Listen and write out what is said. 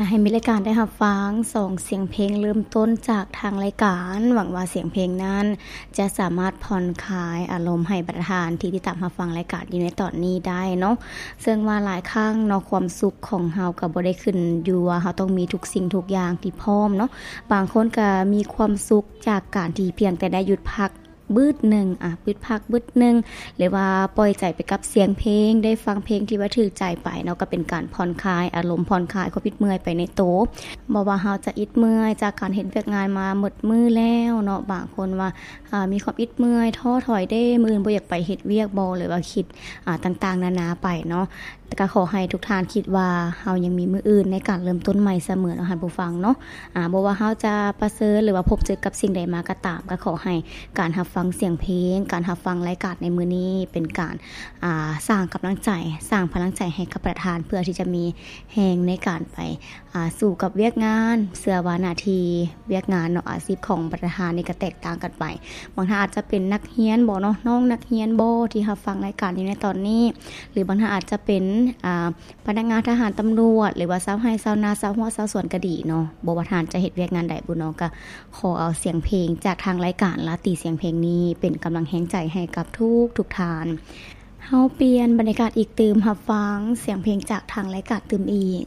ໃຫ້ມີລາຍການໄດ້ຮັບຟັງສອງສຽງເພງເລີ່ມຕົ້ນຈາກທາງລາຍການ. ຫວັງວ່າສຽງເພງນັ້ນຈະສາມາດຜ່ອນຄາຍອາລົມໃຫ້ບັນດາທ່ານທີ່ຕິດຕາມຮັບຟັງລາຍການຢູ່ໃນຕອນນີ້ໄດ້ເນາະ. ເຊິ່ງວ່າຫຼາຍຄັ້ງເນາະ ຄວາມສຸກຂອງເຮົາກໍບໍ່ໄດ້ຂຶ້ນຢູ່ວ່າເຮົາຕ້ອງມີທຸກສິ່ງທຸກຢ່າງທີ່ພ້ອມເນາະ. ບາງຄົນກໍມີຄວາມສຸກຈາກການທີ່ພຽງແຕ່ໄດ້ຢຸດພັກບຶດໜຶ່ງ ອາ ຢຸດພັກບຶດໜຶ່ງ ຫຼືວ່າປ່ອຍໃຈໄປກັບສຽງເພງ, ໄດ້ຟັງເພງທີ່ວ່າຖືກໃຈໄປເນາະ, ກໍເປັນການຜ່ອນຄາຍອາລົມ, ຜ່ອນຄາຍຄວາມອິດເມື່ອຍໄປໃນໂຕ. ບໍ່ວ່າເຮົາຈະອິດເມື່ອຍຈາກການເຮັດວຽກງານມາໝົດມື້ແລ້ວເນາະ, ບາງຄົນວ່າ ອາ ມີຄວາມອິດເມື່ອຍ, ທໍ້ຖອຍເດ້, ມື້ອື່ນບໍ່ຢາກໄປເຮັດວຽກບໍ ຫຼືວ່າຄິດ ອາ ຕ່າງໆນານາໄປເນາະ. ແຕ່ກໍຂໍໃຫ້ທຸກທ່ານຄິດວ່າເຮົາຍັງມີມື້ອື່ນໃນການເລີ່ມຕົ້ນໃໝ່ສະເໝີເນາະ ທ່ານຜູ້ຟັງເນາະ. ອາ ບໍ່ວ່າເຮົາຈະປະເຊີນ ຫຼືວ່າພົບເຈີກັບສິ່ງໃດມາກໍຕາມ, ກໍຂໍໃຫ້ການຮັບຟັງສຽງເພງ, ການຮັບຟັງລາຍການໃນມື້ນີ້ເປັນການ ອາ ສ້າງກຳລັງໃຈ, ສ້າງພະລັງໃຈໃຫ້ກັບບັນດາທ່ານ ເພື່ອທີ່ຈະມີແຮງໃນການໄປ ອາ ສູ້ກັບວຽກງານ. ເຊື່ອວ່າໜ້າທີ່ວຽກງານເນາະ ອາຊີບຂອງບັນດາທ່ານນີ້ກໍແຕກຕ່າງກັນໄປ. ບາງທ່ານອາດຈະເປັນນັກຮຽນບໍເນາະ, ນ້ອງນັກຮຽນບໍທີ່ຮັບຟັງລາຍການຢູ່ໃນຕອນນີ້ ຫຼືບາງທ່ານອາດຈະເປັນ ອາ ພະນັກງານທະຫານ, ຕຳຫຼວດ ຫຼືວ່າຊາວໄຮ່ຊາວນາ, ຊາວຮົ້ວຊາວສວນກໍດີເນາະ. ບໍ່ວ່າທ່ານຈະເຮັດວຽກງານໃດບຸເນາະ, ກໍຂໍເອົາສຽງເພງຈາກທາງລາຍການລາຕີສຽງເພງນີ້ເປັນກຳລັງແຮງໃຈໃຫ້ກັບທຸກໆທ່ານ. ເຮົາປ່ຽນບັນຍາກາດອີກຕື່ມ, ຮັບຟັງສຽງເພງຈາກທາງລາຍການຕື່ມອີກ.